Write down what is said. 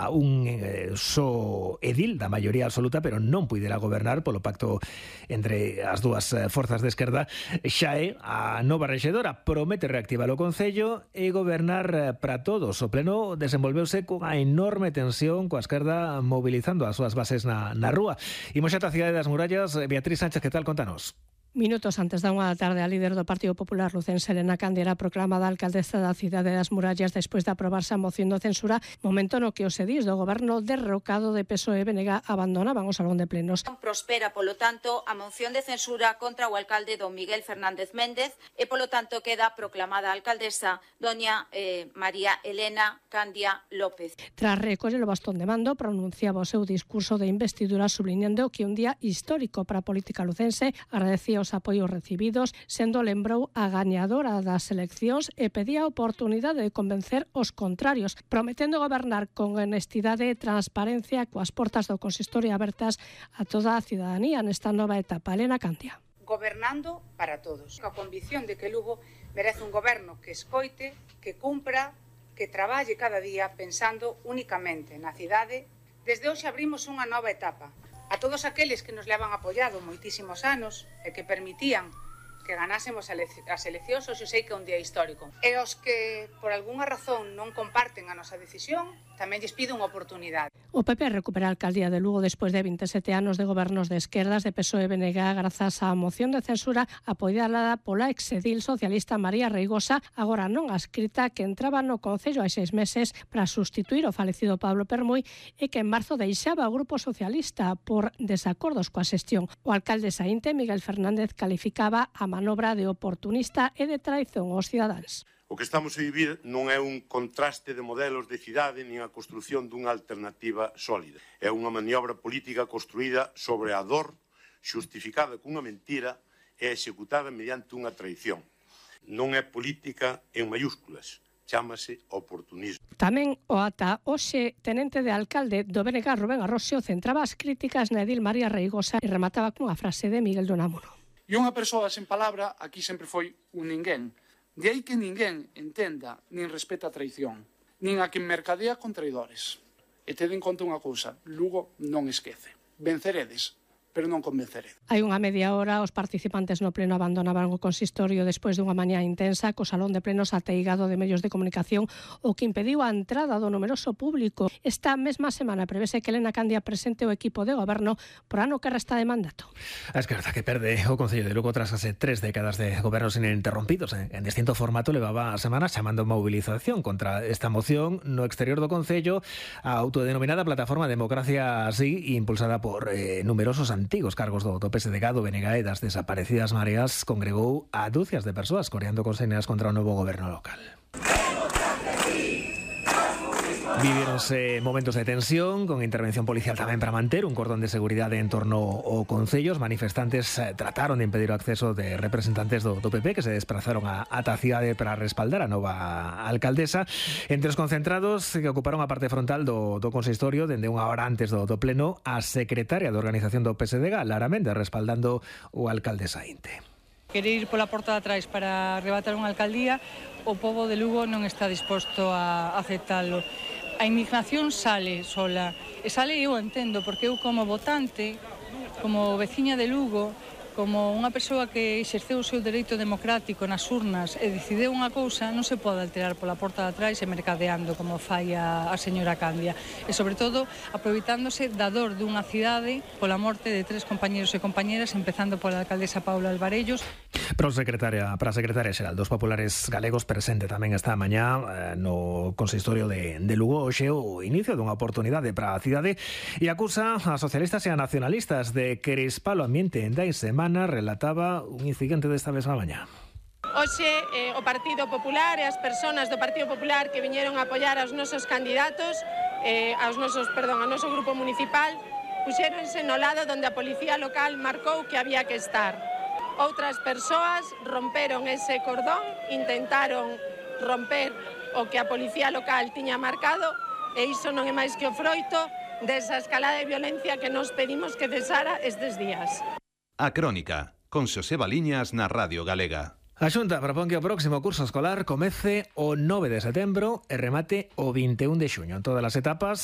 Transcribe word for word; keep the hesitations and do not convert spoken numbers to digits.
a un eh, só edil da maioría absoluta, pero non puidera gobernar polo pacto entre as dúas forzas de esquerda. Xa é a nova rexedora, promete reactivar o Concello e gobernar para todos. O pleno desenvolveuse cunha enorme tensión, coa esquerda mobilizando as súas bases na, na rúa. Imos xa a cidade das murallas. Beatriz Sánchez, que tal? Contanos. Minutos antes da unha da tarde, a líder do Partido Popular lucense, Elena Candia, era proclamada alcaldesa da cidade das murallas despois de aprobarse a moción de censura, momento no que os edís do goberno derrocado de P S O E e B N G abandonaban o salón de plenos. Prospera, polo tanto, a moción de censura contra o alcalde don Miguel Fernández Méndez e, polo tanto, queda proclamada alcaldesa doña eh, María Elena Candia López. Tras recoller o bastón de mando, pronunciaba o seu discurso de investidura subliñando que un día histórico para a política lucense, agradecía os apoios recibidos, sendo lembrou a gañadora das eleccións e pedía a oportunidade de convencer os contrarios, prometendo gobernar con honestidade e transparencia coas portas do consistorio abertas a toda a cidadanía nesta nova etapa. Elena Candia. Gobernando para todos. A convicción de que Lugo merece un goberno que escoite, que cumpra, que traballe cada día pensando únicamente na cidade. Desde hoxe abrimos unha nova etapa. A todos aqueles que nos levan apoiado moitísimos anos e que permitían que ganásemos as eleccións, hoxe sei que é un día histórico. E os que, por algunha razón, non comparten a nosa decisión, tamén lles pido unha oportunidade. O P P recupera a alcaldía de Lugo despois de vinte e sete anos de gobernos de esquerdas de P S O E e B N G grazas á moción de censura apoiada pola exedil socialista María Reigosa, agora non adscrita, que entraba no Concello hai seis meses para sustituir o falecido Pablo Permuy e que en marzo deixaba o Grupo Socialista por desacordos coa xestión. O alcalde saínte, Miguel Fernández, calificaba a manobra de oportunista e de traición aos cidadáns. O que estamos a vivir non é un contraste de modelos de cidade nin a construción dunha alternativa sólida. É unha maniobra política construída sobre a dor, xustificada cunha mentira e executada mediante unha traición. Non é política en mayúsculas, chámase oportunismo. Tamén o ata hoxe tenente de alcalde do B N G, Rubén Arrosio, centraba as críticas na edil María Reigosa e remataba cunha frase de Miguel de Unamuno. E unha persoa sen palabra aquí sempre foi un ninguén. De aí que ninguén entenda nin respeta a traición, nin a quen mercadea con traidores. E tede en conta unha cousa, Lugo non esquece. Venceredes, pero non convenceredes. Hai unha media hora os participantes no pleno abandonaban o consistorio despois dunha mañá intensa co salón de plenos ateigado de medios de comunicación, o que impediu a entrada do numeroso público. Esta mesma semana prevese que Elena Candia presente o equipo de goberno por ano que resta de mandato. A esquerda que perde o Concello de Lugo tras hace tres décadas de gobernos ininterrompidos en distinto formato levaba semanas chamando movilización contra esta moción no exterior do Concello, a autodenominada Plataforma Democracia Así, impulsada por eh, numerosos antigos cargos do, do P S D G, do B N G e das desaparecidas mareas, congregou a dúcias de persoas coreando consignas contra o novo goberno local. Vivíronse momentos de tensión con intervención policial tamén para manter un cordón de seguridade en torno ao Concello. Os manifestantes trataron de impedir o acceso de representantes do, do P P que se desplazaron a ata a cidade para respaldar a nova alcaldesa. Entre os concentrados que ocuparon a parte frontal do, do consistorio dende unha hora antes do, do pleno, a secretaria de organización do P S D G, Lara Méndez, respaldando o alcalde saínte. Querer ir pola porta de atrás para arrebatar unha alcaldía, o pobo de Lugo non está disposto a aceptalo. A indignación sale sola, e sale, eu entendo, porque eu como votante, como veciña de Lugo, como unha persoa que exerceu o seu dereito democrático nas urnas e decideu unha cousa, non se pode alterar pola porta de atrás e mercadeando como fai a, a señora Candia. E, sobre todo, aproveitándose da dor dunha cidade pola morte de tres compañeros e compañeras, empezando pola alcaldesa Paula Alvarellos. Para a secretaria, para a secretaria xeral dos populares galegos, presente tamén esta mañá eh, no consistorio de, de Lugo, hoxe o inicio dunha oportunidade para a cidade, e acusa a socialistas e a nacionalistas de crispar o ambiente en dai semana. Relataba un incidente desta mesma mañá. Hoxe eh, o Partido Popular e as persoas do Partido Popular que viñeron a apoiar aos nosos candidatos, eh, aos nosos, perdón, ao noso grupo municipal, puxéronse no lado onde a policía local marcou que había que estar. Outras persoas romperon ese cordón, intentaron romper o que a policía local tiña marcado, e iso non é máis que o froito desa escalada de violencia que nos pedimos que cesara estes días. A Crónica, con Xosé Baliñas na Radio Galega. A Xunta propón que o próximo curso escolar comece o nove de setembro e remate o vinte e un de xuño. En todas as etapas